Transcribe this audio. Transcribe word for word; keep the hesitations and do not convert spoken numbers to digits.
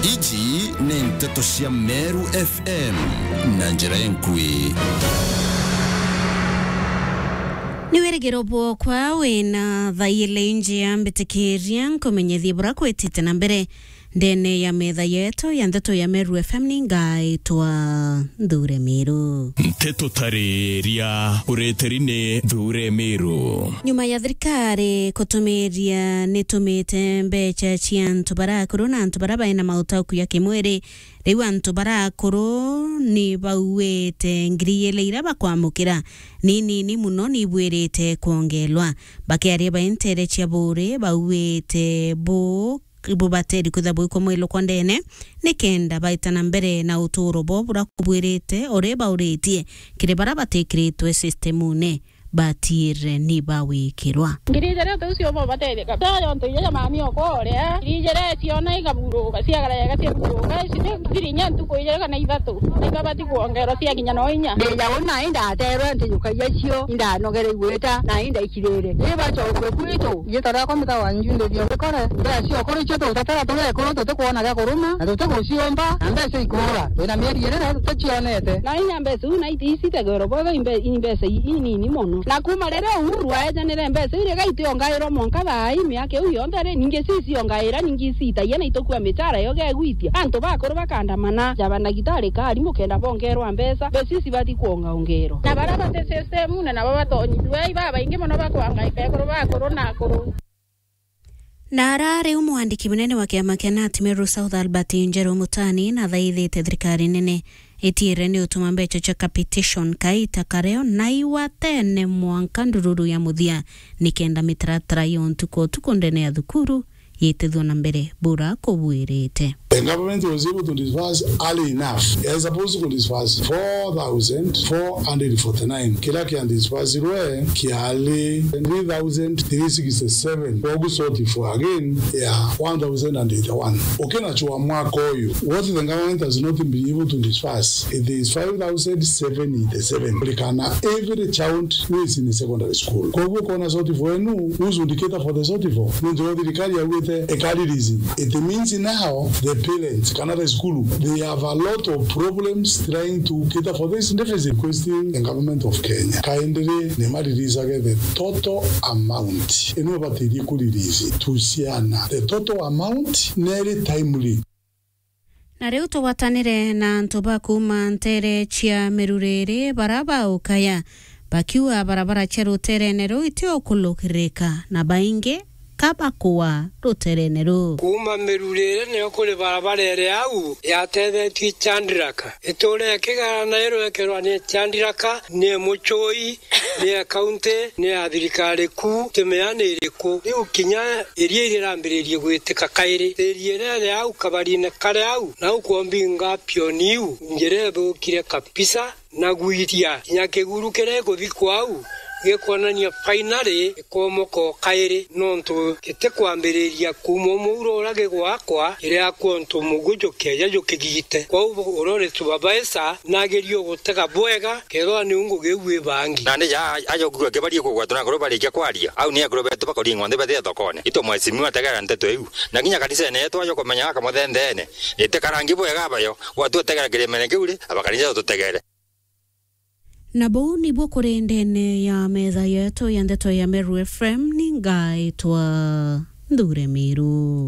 Iji ni nteto cia Meru F M na njira enkui. Ni wirigiro bwokwa wina thaile injia mbitikiria nkumenyethie bura kwitite na mbere ndene ya metha yetu ya nteto ya Meru F M. Ni ngaitwa Nthure Miru. Nteto tariria ureteri ni Nthure Miru. Nyuma ya thirikari kutumiria nitumite mbeca cia antu bara akuru na antu bara baina mautauku ya kimwiri, riu antu bara akuru ni bauite ngiri ili ira bakwamukira ni nini muno, ni ibwirite kwongelwa. Bakiaria baintere cia buri bauite bu bubateri kwithirwa bwikumwilukwa ndene, nikenda baita na mbere na uturo bo bura kubwirite uri bauritie kiri bara batikiritwe systemune, batiire ni bawikirwa. Ngiri ijiri uti ucio bo batetheka. Tayo ntu ija ja mami okwa uria. Ngiri ijiri ciona igaburuka, ciagara yega ciaburuka. Ici ni thiri inya ntuku ijiri kana ithatu. Na ibabati kwongerwa ciakinya no inya. Ndi ja una indaterwe ntijukagia cio, indanogere igwita, na indaikirire. Ii bacokue kwitu. Igita riakwa mita wa nju ndithio mbikore. Mbeca cia ukuri cio tutatara turi ekuru tutikwona gia kuruma, na tutiguciumba, na mbeca ikuura. Twina mieri iri na tuticionete. Na inya mbeca iu na iti-, icitegwerwa bwega imbe-, imbeca i-, inini mono. Na kuma riria Uhuru aejanire mbeca iu, riga itiongairwa mwanka thaa ii miaka iu yonthe ri, ningi ci ciongaira, ningi citagia na itukua michara yo gegwitia. Antu bakuru bakandamana, ja bandagitari ka arimu kenda bongerwa mbeca, mbeca ici cibati kwongaongerwa. Na baria bati system-une nabo batonyithua, ibabaingi mono bakwangaika ekuru bakuru na akuru. Na ara riu mwandiki munene wa kiama kia Nat Meru South Albert Njeru Mutani nathaithite thirikari nene itiire ni utuma mbeca cia capitation kaita kareo na iwa tene mwanka ndururu ya muthia, nikenda mitaratara ya untuku utuku ndene ya thukuru yitithua na mbere bura kubwirite. The government was able to disburse early enough. It was supposed to disburse four thousand four hundred forty-nine. Kiria kia disbursirwe kiari three thousand three sixty-seven. Koguo shortfall again ya one thousand and eighty-one. Ukinachua mwaka uyu, what the government has not been able to disburse, it is five thousand seven eighty-seven. Kulikana every child who is in secondary school. Koguo ukona shortfall enu, who should cater for the shortfall? Nontu thirikari yaugite eka release. It means now the parents kana the school, they have a lot of problems trying to cater for this deficit, requesting the government of Kenya kindly ni ma release age the total amount. Ino batirie ku release tu ciana. The total amount neri timely. Na riu tugwatanire na antu ba kuuma ntere cia Miruriri bara baukaya, bakiuga barabara cia ruterene ruu itiukulukirika na baingi ka bakua ruterene ruu. Kuuma Miruriri nio kuri barabara iri au yatethetue Chandiraka. Itura ikigara na iru ikerwa ni Chandiraka, ni mucui, ni ya kaunti, ni ya thirikari kuu, timea ni iriku. Riu kinya iria irirambiririe gwitika kairi. Thiri iria iri au kabarine kari au, nau kwombinga pioni iu, njira ithukire kabisa, na gwiria kinya kiguru kiria gikuthikwa au, gikwonania finally gikomoka o kairi, nontu gitikwambiriria kuuma umuuro uria gigwakwa, kiria kwontu muguju kieja jukigite. Kwou uria uri supervisor, nagerie gutega bwega, kethirwa niu ngugi iu ibangi. Nandi ja aja ukigua kibarie kugwatwa na akuru barikia kwaria, au ni akuru betu bakuringwa nthi bathie thokone. Itu mheshimiwa tegera nteto iu. Na kinya kanisene yetu aja kumenya gaka muthendeene, itikarangi bwega abayo, gwatu utegera kirimene kiu ri, abakanisa tutegere. Na buu nibuo kuri ndene ya metha yetu ya ndeto ya Meru F M, ni ngaitwa Nthure Miru.